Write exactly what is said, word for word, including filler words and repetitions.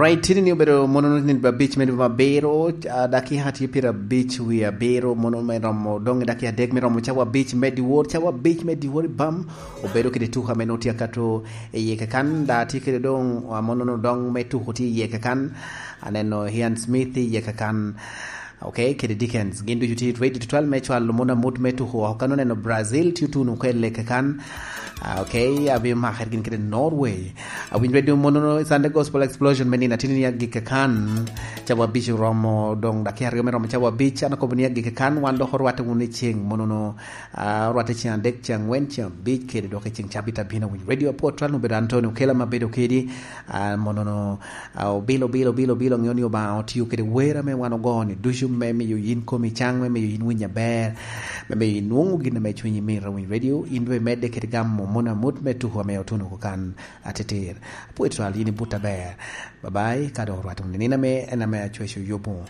Right, tini ni obedo mono ni abic me dwe me abiro, ah, dakika tye pyerabic wie abiro, mono me romo dong i dakika adek me romo cawa abic me dyewor, cawa abic me dyewor i bam, obedo kede tuko ame nongo tye akato i yie kakan, da tye kede dong, ah, mono no dong me tuko tye i yie kakan, aneno Ian Smith i yie kakan, ok, kede Dickens, gin ducu tye ready tutwal me cwalo mono amut me tuko oko, kan oneno Brazil tye otuno kwede kakan, ah, ok, abino makere gin kede Norway. Awinyo radio mono Sunday Gospel Explosion me nino atini ni agik kan. Cawa abic oromo, dong dakika aryo me romo cawa abic, an akobo ni agik kan, wan dok orwatte wunu i ceng monono, ah, orwatte ceng adek, ceng angwen, ceng abic, kede dok i ceng cabit abino. Awinyo radio apwot twal obedo Antonio Kela ma bedo kedi, ah, monono, ah, obilo, obilo, obilo, obilo, ŋeo ni Obaŋa otio kede wer ame wan ogo ni ducu me miyo yin komi caŋ, me miyo yin winy aber, me miyo yin nwoŋo gin ame cwinyi mito. Awinyo radio, in dwe medde kede gamo mono amut me tuko ame otuno kan. Ateter. Apwoyo twal, yin ibut aber. Babai, ka dok orwatte wunu nino ame en ame acweco yubo.